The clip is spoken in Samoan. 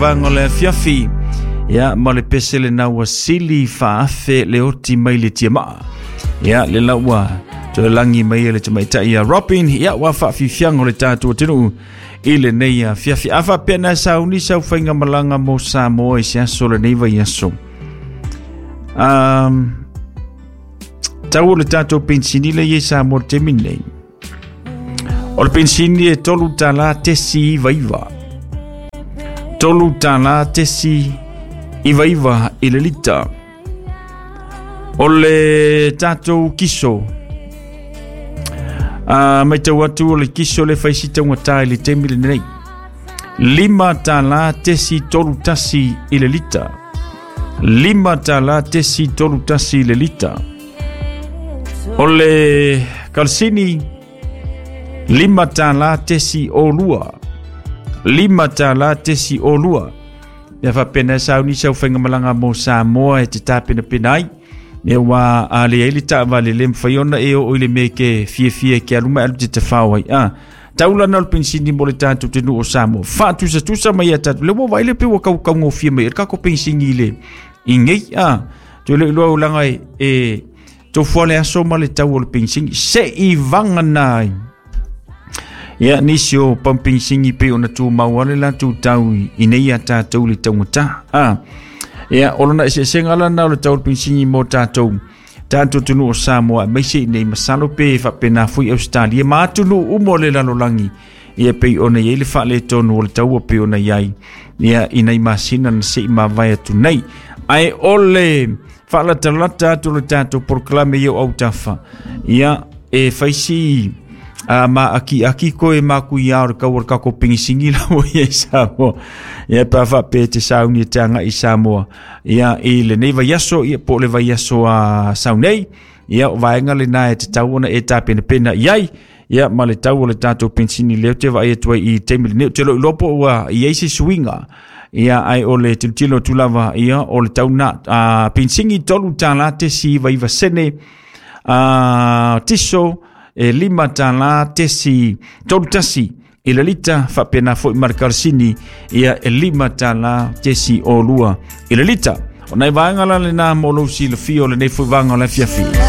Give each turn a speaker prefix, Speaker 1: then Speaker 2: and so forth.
Speaker 1: Vaega o le afiafi, ia ma le pese lena ua sili faaafe le oti mai le tiamaa. Ia le la ua toe lagi mai e le tamaitai ia Robin, ia ua faafiafiaga o le tatou atunuu i lenei afiafi. A faapea na sauni sau faigamalaga mo Samoa i se aso o lenei vaiaso. Tau o le tatou pensini le i ai Samoa i le taimi lenei. O le pensini e $3.99. $3.99 i le lita. O le tatou kiso, matau atu o le kiso le fai si taugata i le taimi lenei. $5.31 i le lita. $5.31 i le lita. O le kalasini $5.02. $5.02. Mea faapena e sauni sau faigamalaga mo Samoa e te tapenapena ai. Mea ua a le ai le taavale le mafai ona e oo i le mea ke fiafia e ke alu mai alu te tafao ai. Taulana o le pensini mo le tatou atunuu o Samoa. Faatusatusa mai ia tatou. Le ua vaai le pe ua kaukaugofie mai ai le kako pensini i le i nei. Toe le iloa ulaga e tofua le aso ma le tau o le pensini. Se i vagana ai. Ia, nisi o pampingsini pei ona tumau ale latou tau i nei a tatou le taugata. Ia, o lona eseesega lana o le tau o le pensini mo tatou tatou atunuu o Samoa, aemaise i nei masalo pe faapena foi Australia ma atunuu uma o le lalolagi. Ia pei ona i ai le faaletonu o le taua pei ona i ai ia i nai masina na se i mavae atu nei. Ae o le faalatalata atu o le tatou polokalame i o autafa, ia e fai si ma aki aki koe maku ia o le kau o le kako pengisingi la ua i ai Samoa. Ia pa faapea te sauni e te agai i Samoa. Ia i lenei vaiaso, ia po o le vaiaso a sau nei. Ia o vaega lena e tatau ona e tapenapena i ai. Ia ma le tau o le tatou pensini lea ou te vaai atu ai i taimi lenei. Ou te iloa po ua i ai se suiga. Ia ai o le tilotilo atu lava ia o le tau na pensini $3.99, tiso e $5.31 i le lita, faapena foi ma le kalasini ia e $5.02 i le lita. O nai vaega la lena mo lou silafia o lenei foi vaega o le afiafi.